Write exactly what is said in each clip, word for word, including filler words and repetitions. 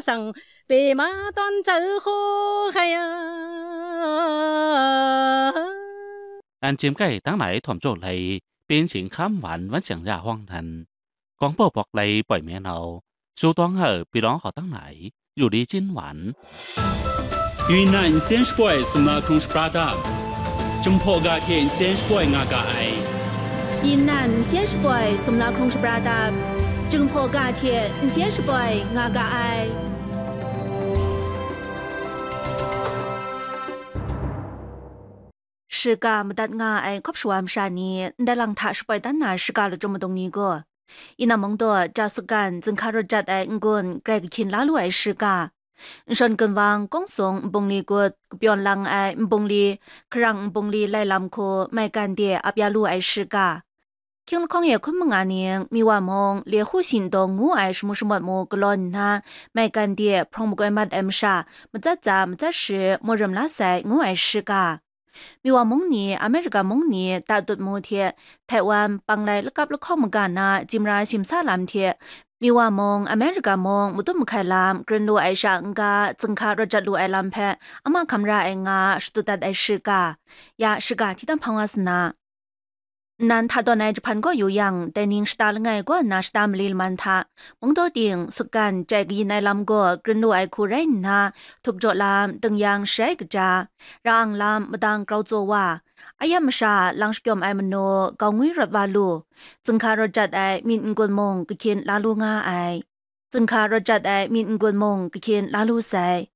sang pe ma tawn chau hkaw hkai a. 南京街当来团聚来，边境看完万象呀荒南。广播博来北面后，苏东后比朗好当来，有力金丸。云南先是 boy 送那空是 brother，正破 ga 天先是 boy 我 ga 爱。云南先是 boy 送那空是 brother，正破 ga 天先是 boy 我 ga 爱。 Shiga madat nga ai hkawp shawa masha ni ndai lang hta shapoi dan na shiga lachyum madung ni gaw, Yinam Mungdaw, Jasukan, zinghka rawt jat ai n-gun grai kahkyin la lu ai shiga, nshawn gunwang, kawngsung, nbungli gut, kapyawn lang ai nbungli, hkarang nbungli lai lam hku maigan de ap ya lu ai shiga, Hkying lahkawng e hkun manga ning, Miwa mung, Lehu Shindong ngu ai shamu shamawt mu galaw nna, maigan de hprawng makoi mat ai masha, matsat tsa, matsat shi, mu rim la sai, ngu ai shiga. Miwa mung ni, America mung ni, tatut mu hte, Taiwan, panglai lakap lahkawng maga na, jimra shimsa lam hte, Miwa mung, America mung, matum mahkai lam, grin lu ai sha n-ga, zinghka rawt jat lu ai lam hpe, ama hkam ra ai nga, shadut dat ai shiga. Ya, shiga hti tam hpang wa sa na. Nnan hta tawn ai jahpan gaw yu yang, dai ning shata langai kaw nna shata mali laman hta, Mungdaw ting, Sutgan, jai kayin ai lam gaw grin lu ai hku rai nna, htuk jaw lam, dingyang sharai kaja, ra ang lam, madang grau tsaw wa, ayam masha, lang shakyawm ai manu, gau ngwi rawt wa lu, zinghka rawt jat ai myit n-gun mung kahkyin la lu nga ai. Zinghka rawt jat ai myit n-gun mung kahkyin la lu sai.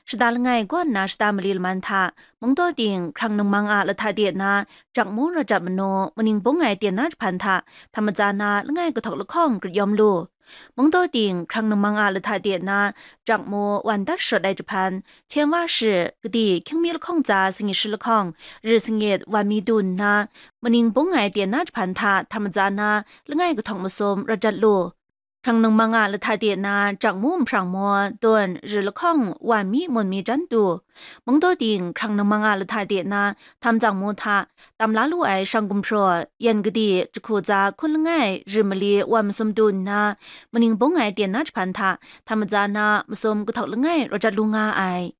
Shata langai kaw nna shata mali laman hta, Mungdaw ting, hkrang ningmang a lahta de na, jakmu rawt jat manu, maning bung ai ten na jahpan hta, htam matsa na langai kahtawk lahkawng grit yawm lu. Mungdaw ting, hkrang ningmang a lahta de na, jakmu wan dat sharawt ai jahpan, hten wa shi, kadi, hkying mi lahkawng tsa sangit shi lahkawng, ri sangit wan mi du nna, maning bung ai ten na jahpan hta, htam matsa na langai kahtawk masum rawt jat lu. Hkrang ningmang a lahta de na, jakmu nhprang maw, dawn, ri lahkawng, wan mi, mun mi jan tu. Mungdaw ting, hkrang ningmang a lahta de na, htam tsang mu hta, tam la lu ai shang gumhpraw, yan kadi, jahku tsa hkun langai, ri mali, wan masum tu nna, maning bung ai ten na jahpan hta, htam matsa na, masum kahtawk langai, rawt jat lu nga ai.